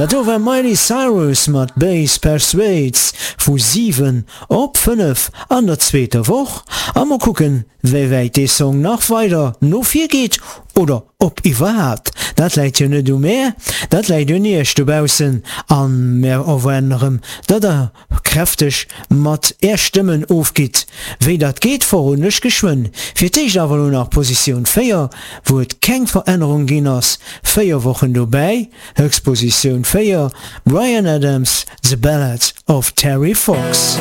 Dat do war Miley Cyrus mat Bass Persuades vu 7 op 5 an der zweeter Woch. A mol kucken, wéi wäit dee Song nach weider no vir geet oder ob iwwerhaapt. Dat läit jo net u mär, dat läit un iech dobaussen. A mär erwaarden erëm, datt der kräfteg mat är Stëmmen ofgitt. Wéi dat geet, verroden ech geschwënn. Fir d'éischt awer elo nach Positioun 4, wou et keng Verännerung ginn ass, 4 Wochen dobäi, Höchstpositioun 4, Bryan Adams, The Ballad of Terry Fox.